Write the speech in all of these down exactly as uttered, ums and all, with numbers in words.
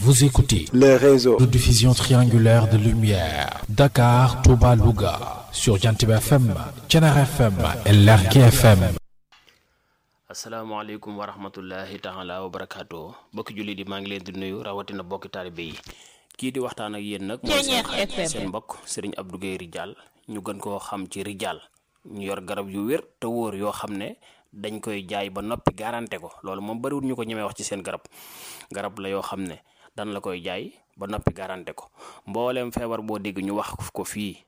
Vous écoutez le réseau de diffusion triangulaire de lumière Dakar, Touba, Louga sur Jantib F M, Thiénaba F M et Lergui F M. asalaamaaleykum wa rahmatullahi taala wa barakaatu bokki julli di maa ngi leen di nuyu rawatina bokki taalibe yi kii di waxtaan ak yéen nag mooy seen xarit seen mbokk Serigne Abdou Guèye Ridial ñu gën koo xam ci Ridial ñu yor garab yu wér te wóor yoo xam ne dañ koy jaay ba noppi garanté ko loolu moom bariwul ñu ko ñemee wax ci seen garab garab la yoo xam ne dan la koy jaay ba noppi garanté ko mbooleem feebar boo dégg ñu wax ko fii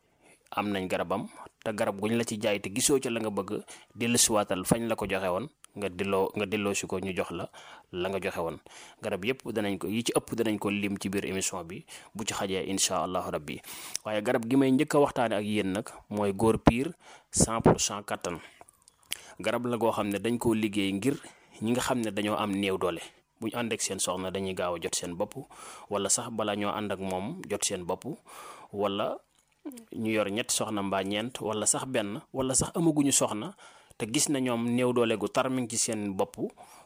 am nañ garabam te garab guñ la ci jaay te gisoo ca la nga bëgg dellusiwaatal fañ la ko joxe woon nga delloo nga delloo si ko ñu jox la la nga joxe woon garab yëpp danañ ko yi ci ëpp danañ ko lim ci biir émission bi bu ci xajee incha allahu rabbi waaye garab gi may njëkk a waxtaane ak yéen nag mooy góor piir cent pour cent kattan garab la goo xam ne dañ koo liggéey ngir ñi nga xam ne dañoo am néew doole bu ñu ànd ak seen soxna dañuy gaaw a jot seen bopp wala sax bala ñoo ànd ak moom jot seen bopp wala ñu yor ñetti soxna mbaa ñeent wala sax benn wala sax amaguñu soxna te gis na ñoom néew doole gu tar mi ngi ci seen bopp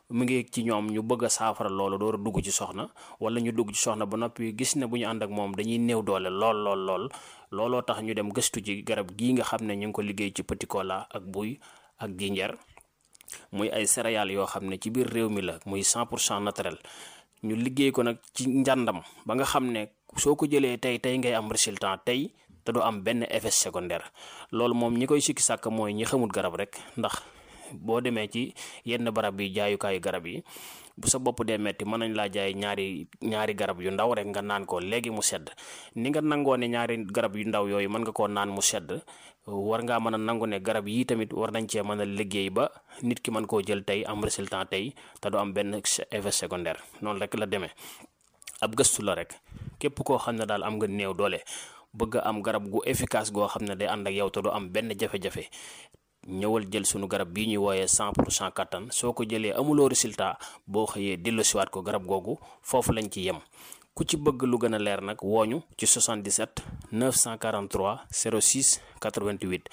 mu ngi ci ñoom ñu bëgg a saafara loolu door a dugg ci soxna wala ñu dugg ci soxna ba noppi gis na bu ñu ànd ak moom dañuy néew doole lool lool lool looloo tax ñu dem gëstu ci garab gii nga xam ne ñu ngi ko liggéey ci petit cola ak buy ak ginjeer muy ay céréales yoo xam ne ci biir réew mi la muy cent pour cent naturel ñu liggéey ko nag ci njàndam ba nga xam ne soo ko jëlee tey tey ngay am résultat tey te du am benn effet secondaire loolu moom ñi koy sikki sàkk mooy ñi xamul garab rek ndax boo demee ci yenn barab yi jaayukaayu garab yi bu sa bopp dee metti mën nañ laa jaay ñaari ñaari garab yu ndaw rek nga naan ko léegi mu sedd ni nga nangoo ne ñaari garab yu ndaw yooyu mën nga koo naan mu sedd war ngaa mën a nangu ne garab yii tamit war nañ cee mën a liggéey ba nit ki mën koo jël tey am résultat tey te du am benn effet secondaire noonu rek la demee ab gëstu la rek képp koo xam ne daal am nga néew doole bëgg am garab gu efficace goo xam ne day ànd ak yow te du am benn jafe-jafe ñëwal jël sunu garab bii ñuy wooyee cent pour cent kattan soo ko jëlee amuloo résultat boo xëyee delloosiwaat ko garab googu foofu lañ ci yem ku ci bëgg lu gën a leer nag wooñu ci soixante-dix-sept neuf cent quarante-trois zéro six quatre-vingt-huit